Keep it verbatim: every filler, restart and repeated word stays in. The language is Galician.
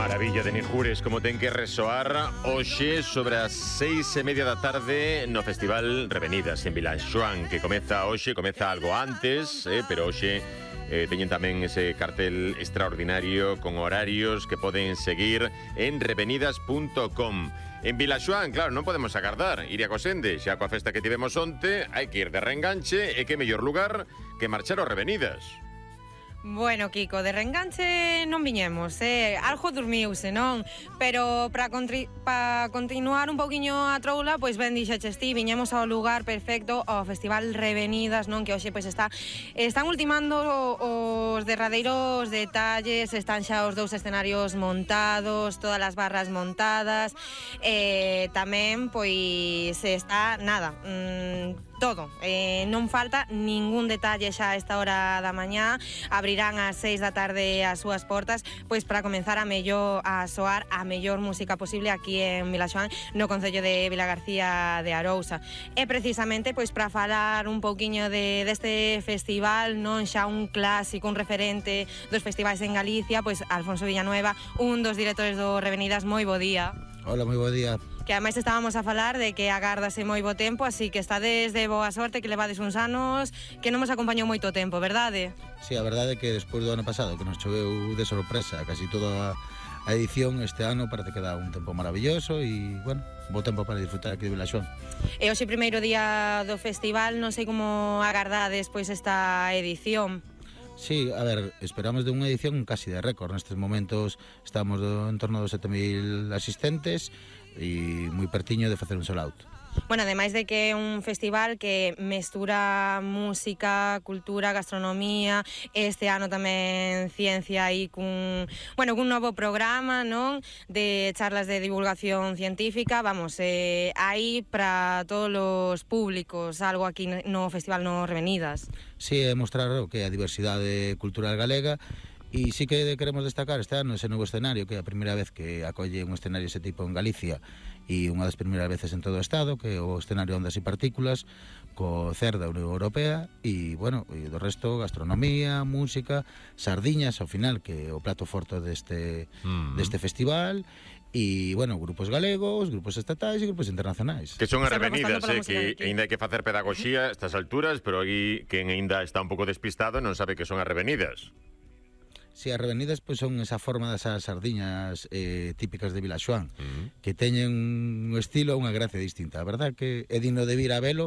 Maravilla de Ninjures, como ten que resoar hoxe sobre as seis e media da tarde no Festival Revenidas en Vilaxoán, que comeza hoxe, comeza algo antes, eh, pero hoxe eh, teñen tamén ese cartel extraordinario con horarios que poden seguir en revenidas punto com. En Vilaxoán, claro, non podemos agardar ir a Cosende, xa coa festa que tivemos onte, hai que ir de reenganche, e que mellor lugar que marchar aos Revenidas. Bueno, Kiko, de reenganche non viñemos, eh? Algo dormiuse, non? Pero para pa continuar un pouquiño a troula, pois ben dixeches ti, viñemos ao lugar perfecto, ao Festival Revenidas, non? Que hoxe pois está están ultimando os derradeiros detalles, están xa os dous escenarios montados, todas as barras montadas, e tamén pois está nada, mmm, todo, eh, non falta ningún detalle xa a esta hora da mañá. Abrirán ás seis da tarde as súas portas, pois para comenzar a mellor a soar a mellor música posible aquí en Vilaxoán, no concello de Vilagarcía de Arousa. E precisamente pois para falar un pouquiño de deste festival, non xa un clásico, un referente dos festivais en Galicia, pois Alfonso Villanueva, un dos directores do Revenidas. Moi bo día. Hola, moi bo día. Que ademais estábamos a falar de que agardase moi bo tempo, así que estades de boa sorte, que levades uns anos que non nos acompañou moito tempo, verdade? Sí, a verdade é que despois do ano pasado, que nos choveu de sorpresa casi toda a edición, este ano parece que dá un tempo maravilloso e, bueno, bo tempo para disfrutar aquí de Vilaxoán. E hoxe primeiro día do festival, non sei como agardades pois esta edición. Sí, a ver, esperamos de unha edición casi de récord. Nestes momentos estamos do, en torno dos sete mil asistentes e moi pertiño de facer un sold out. Bueno, ademais de que é un festival que mestura música, cultura, gastronomía, este ano tamén ciencia aí cun, bueno, cun novo programa, non? De charlas de divulgación científica, vamos, eh, aí para todos os públicos, algo aquí no Festival no Revenidas. Sí, é mostrar o que é a diversidade cultural galega. E sí que queremos destacar este ano ese novo escenario, que é a primeira vez que acolle un escenario ese tipo en Galicia e unha das primeiras veces en todo o Estado, que é o escenario Ondas e Partículas, co C E R da Unión Europea, e, bueno, e do resto, gastronomía, música, sardiñas, ao final, que é o plato forte deste, mm. deste festival, e, bueno, grupos galegos, grupos estatais e grupos internacionais. Que son as Revenidas, eh, que ainda hai que facer pedagogía a estas alturas, pero aquí quen ainda está un pouco despistado non sabe que son as Revenidas. Si, as Revenidas pois, son esa forma das sardiñas eh, típicas de Vilaxoán, uh -huh. que teñen un estilo, unha gracia distinta. A verdad que é digno de vir a velo,